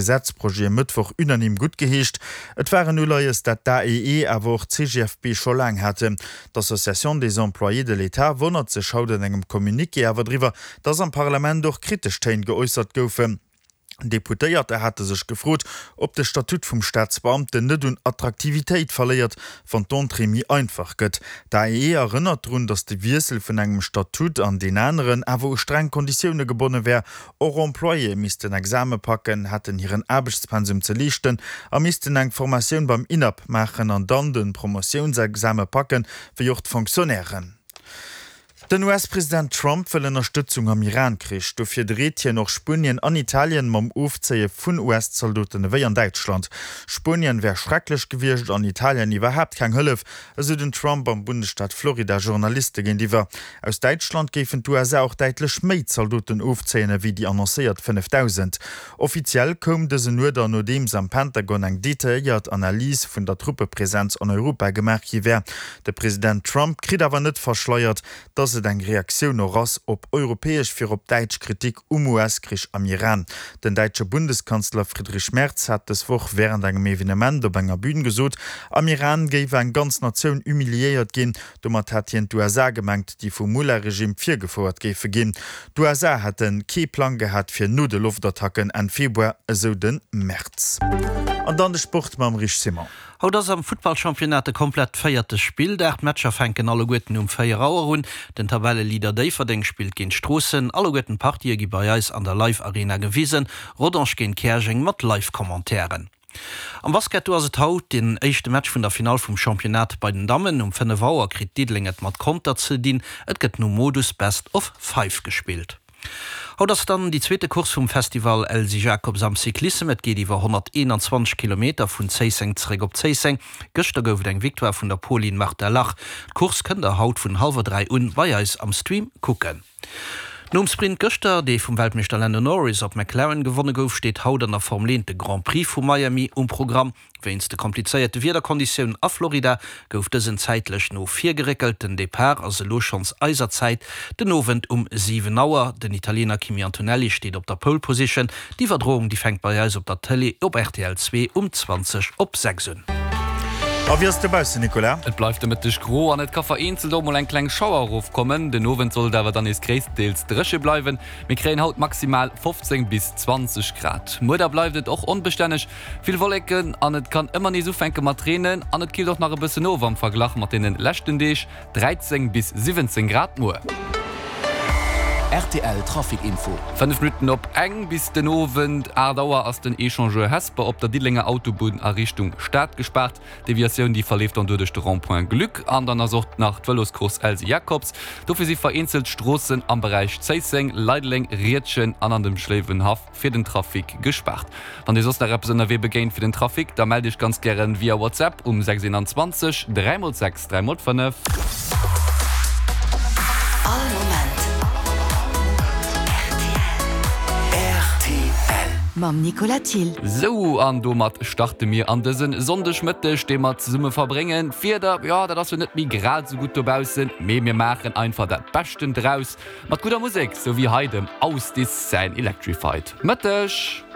Gesetzprojet e Mëttwoch unanime guttgeheescht. Et war en Uleies, dat d'AEE, awer och d'CGFP scho laang haten. D'Association des employés de l'État wonnert sech haut an engem Communiqué awer driwwer, datt am Parlament och kritesch Téin geäussert goufen. Deputéierter hate sech gefrot, ob de Statut vum Staatsbeamten net un Attraktivitéit verléiert, wann d'Entrée méi einfach gëtt. D'AEE erënnert drun, datt de Wiessel vun engem Statut an deen aneren awer u streng Konditioune gebonne wär, Och Employéë missten Exame packen, hätten hiren Aarbechtspensum ze leeschten a missten eng Formatioun beim INAP maachen an dann de Promotiounsexame packen, wéi och d'Fonctionnairen. Den US-President Trump wëll Ënnerstëtzung am Iran-Krich. Dofir dreet hien och Spuenien an Italien mam Ofzéie vun US-Zaldoten ewéi an Däitschland. Spuenien wär schrecklech gewiescht an Italien iwwerhaapt keng Hëllef, esou den Trump am Bundesstaat Florida Journaliste géintiwwer. Aus Däitschland géifen d'USA och däitlech méi Zaldoten ofzéien ewéi déi annoncéiert 5.000. Offiziell koum dësen Uerder, nodeems am Pentagon eng detailléiert Analys vun der Truppepresenz an Europa gemaach gi wär. De President Trump kritt awer net verschleiert, datt et eng Reaktioun och ass op europäesch, virop däitsch Kritik um US-Krich am Iran. Den däitsche Bundeskanzler Friedrich Merz hat dës Woch wärend engem Evenement op enger Bün gesot, am Iran géif eng ganz Natioun humiliéiert ginn. Domat hat hien d'USA gemengt, déi vum Mullah-Regime virgefouert géife ginn. D'USA hätte kee Plang gehat fir no de Loftattacken Enn Februar, esou de Merz. An dann de Sport mam Rich Simon. Haut ass am Futtballchampionnat de komplett véierte Spilldag. D'Matcher fänken alleguerten um 4 Auer un. Den Tabelleleader Déifferdeng spillt géint Stroossen. Alleguerten d'Partië gi bei eis an der Live Arena gewisen. Rodange géint Käerjeng mat Live-Commentairen. Am Basket, do ass et haut den éischte Match vun der Finall vum Championnat bei den Dammen. Um 5 Auer kritt Diddeleng et mat Conter ze dinn. Et gëtt nom Modus Best of Five gespillt. Haut ass dann déi zweete Course vum Festival Elsy Jacobs am Cyclissem. Et geet iwwer 121 Kilometer vun Zéisseng zeréck op Zéisseng. Gëschter gouf et eng Victoire vun der Polin Marta Lach. D'Course kënnt der haut vun hallwer 3 un bei eis am Stream kucken. Nom Sprint gëschter, dee vum Weltmeeschter Lando Norris op McLaren gewonne gouf, steet haut an der Formel 1 de Grand Prix vu Miami um Programm. Wéinst de komplizéierte Wiederkonditiounen a Florida gouf dësen zäitlech no vir geréckelt. Den Depart ass elo schonns eiser Zäit den Owend um 7 Auer. Den Italiener Kimi Antonelli steet op der Pole Position. D'Iwwerdroung déi fänkt bei eis op der Tëlee op rtl 2 um 20 op 6 un. A wéi ass et dobaussen, Nicolas? Et bleift de Mëtteg gro an et ka vereenzelt och mol eng kleng Schauer erofkommen. Den Owend soll et awer dann nees gréisstendeels dréche bleiwen. Mir kréien haut maximal 15 bis 20 Grad. Muer da bleift et och onbestänneg, Vill Wolleken an et kann ëmmer nees ufänke mat reenen an et killt och nach e bëssen of am Verglach mat deene leschten Deeg, 13 bis 17 Grad muer. Rtl Trafic Info. 5 Minutten op eng. Bis den Owend 8 Auer ass den Echangeur Hesper op der Diddelenger Autobunn a Richtung Stad gespaart. D'Deviatioun déi verleeft dann doduerch de Rond-point Gluck an dann ass och nach d'Vëloscourse Elsy Jacobs. Dofir si vereenzelt Stroossen am Beräich Zéisseng, Leideleng, Riedgen an an dem Schléiwenhaff fir den Trafic gespaart. Wann dir soss nach eppes ënnerwee begéint fir den Trafic, da mellt iech ganz gären via WhatsApp um 621 3 x 6 3 x 5. All Moment rtl. Mam Nicolas Thill. Sou, an domat starte mir an dësen Sonndegmëtteg, dee mer zesumme verbréngen. D'Wieder, jo, dat ass jo net méi grad esou gutt dobaussen, mee mir maachen einfach dat Beschten draus. Mat gudder Musek, sou wéi hei dem Ausdis säin Electrified. Mëtteg!